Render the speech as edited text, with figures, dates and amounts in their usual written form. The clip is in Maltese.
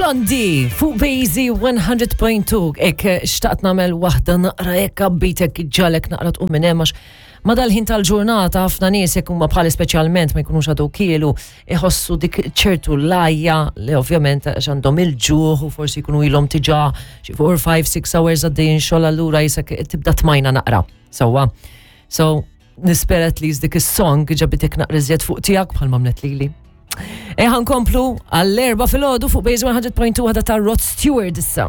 Blondie fuq Bazy 100.2 ek xtaqt namel waħda naqra ek abbitek ġalek naqra tqum minn hemm għax ma dal-ħin tal-ġurnata ħafna nies jekk huma bħali speċjalment ma jkunux għadu kielu iħossu dik ċertu lajja li ovvjament għax għandhom il-ġuħ u forsi jkunu ilhom tiġa xi 4, 5, 6 hours għaddejjin xogħol allura jisek tibda tmajna naqra. Sewwa. So nispera at least dik is-song ġabitek naqra iżjed fuq tiegħek bħal mamlet lili. Eħan komplu għall-erba filgħodu fuq Base 100.2 ħada ta' Rod Stewart issa.